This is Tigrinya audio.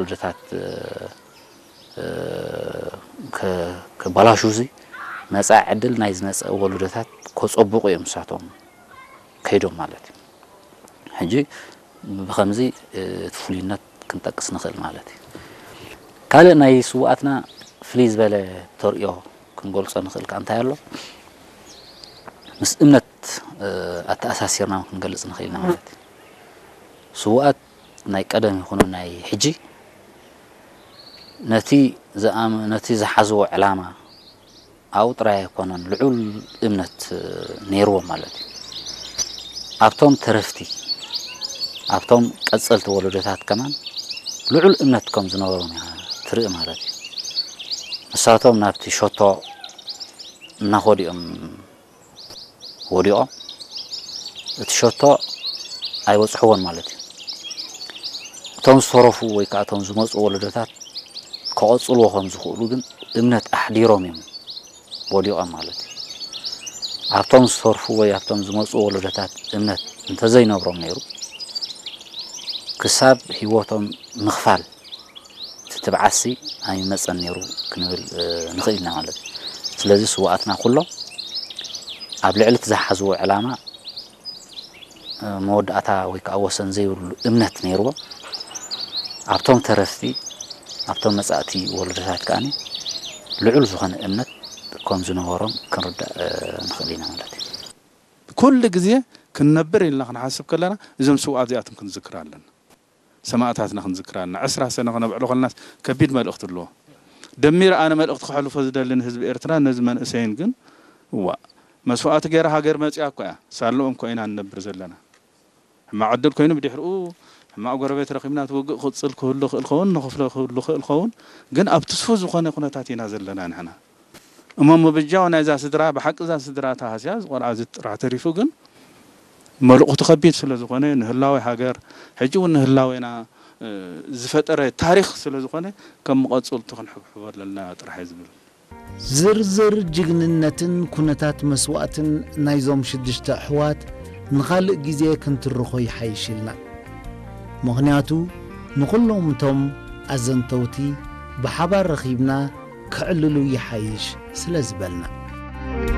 ወለዶታት ከበላሹ ዚ መፃኢ ዕድል ናይ ዝመፀ ወለዶታት ከፀቡቑ እዮም ንሳቶም ከይዶም ማለት እዩ። ሕጂ ብኸምዚ እቲ ፍሉይነት ክንጠቅስ ንኽእል ማለት እዩ። ካልእ ናይ ስውኣትና ፍልይ ዝበለ ተርእዮ ክንገልፆ ንኽእል ከ እንታይ ኣሎ? ምስ እምነት ኣተኣሳሲርና ክንገልፅ ንኽእል ኢና ማለት እዩ። ስውኣት ናይ ቀደም ይኹኑ ናይ ሕጂ ነቲ ዝሓዝዎ ዕላማ ኣብኡ ጥራይ ኣይኮነን ልዑል እምነት ነይርዎም ማለት እዩ። ኣብቶም ተረፍቲ ኣብቶም ቀፀልቲ ወለዶታት ከማን ልዑል እምነት ከም ዝነበሮም እያ ትርኢ ማለት እዩ። ንሳቶም ናብቲ ሸቶ እናኸዱ እዮም ወዲቖም እቲ ሸቶ ኣይበፅሕዎን ማለት እዩ። እቶም ዝተረፉ ወይ ከዓ እቶም ዝመፁ ወለዶታት ክቐፅልዎ ከም ዝኽእሉ ግን እምነት ኣሕዲሮም እዮም ወዲቖም ማለት እዩ። ኣብቶም ዝተርፉ ወይ ኣብቶም ዝመፁ ወለዶታት እምነት እንተዘይነብሮም ነይሩ ክሳብ ህይወቶም ምኽፋል እቲ ትብዓትሲ ኣይመፀን ነይሩ ክንብል ንኽእል ኢና ማለት እዩ። ስለዚ ስውኣትና ኩሎም ኣብ ልዕሊ እቲ ዝሓዝዎ ዕላማ መወዳእታ ወይ ከዓ ወሰን ዘይብሉ እምነት ነይርዎም። ኣብቶም ተረፍቲ ኣብቶም መፃእቲ ወለዶታት ከዓ ልዑል ዝኾነ እምነት ከም ዝነበሮም ክንርዳእ ንኽእል ኢና ማለት እዩ። ኩሉ ግዜ ክንነብር ኢልና ክንሓስብ ከለና እዞም ስውኣት እዚኣቶም ክንዝክር ኣለና። ሰማእታትና ክንዝክር ኣለና። ዕስራ ሰነ ክነብዕሎ ከለናስ ከቢድ መልእኽቲ ኣለዎ። ደሚረ ኣነ መልእኽቲ ከሕልፎ ዝደሊ ንህዝቢ ኤርትራ ነዚ መንእሰይን ግን እዋእ መስዋእቲ ገይራ ሃገር መፂኣ እኮ እያ። ሳለኦም እኮ ኢና ንነብር ዘለና። ሕማቕ ዕድል ኮይኑ ብድሕሪኡ ሕማቕ ጎረቤት ረኺብና እቲ ውግእ ክቕፅል ክህሉ ይኽእል ኸውን ንኽፍለ ክህሉ ይኽእል ኸውን ግን ኣብ ትስፉ ዝኾነ ኩነታት ኢና ዘለና ንሕና። እሞ ምብጃው ናይዛ ስድራ ብሓቂ እዛ ስድራ ተሃስያ እዚ ቆልዓ እዚ ጥራሕ ተሪፉ ግን መልእኽቱ ከቢድ ስለ ዝኾነ ንህላወ ሃገር ሕጂ እውን ንህላዌና ዝፈጠረ ታሪኽ ስለ ዝኾነ ከም መቐፅልቱ ክንሕብሕቦ ኣለና ጥራሕ እየ ዝብል። ዝርዝር ጅግንነትን ኩነታት መስዋእትን ናይዞም ሽዱሽተ ኣሕዋት ንኻልእ ግዜ ክንትርኾ ይሓይሽ ኢልና። ምኽንያቱ ንኹሎም እቶም ኣዘንተውቲ ብሓባር ረኺብና ከዕልሉ ይሓይሽ ስለ ዝበልና።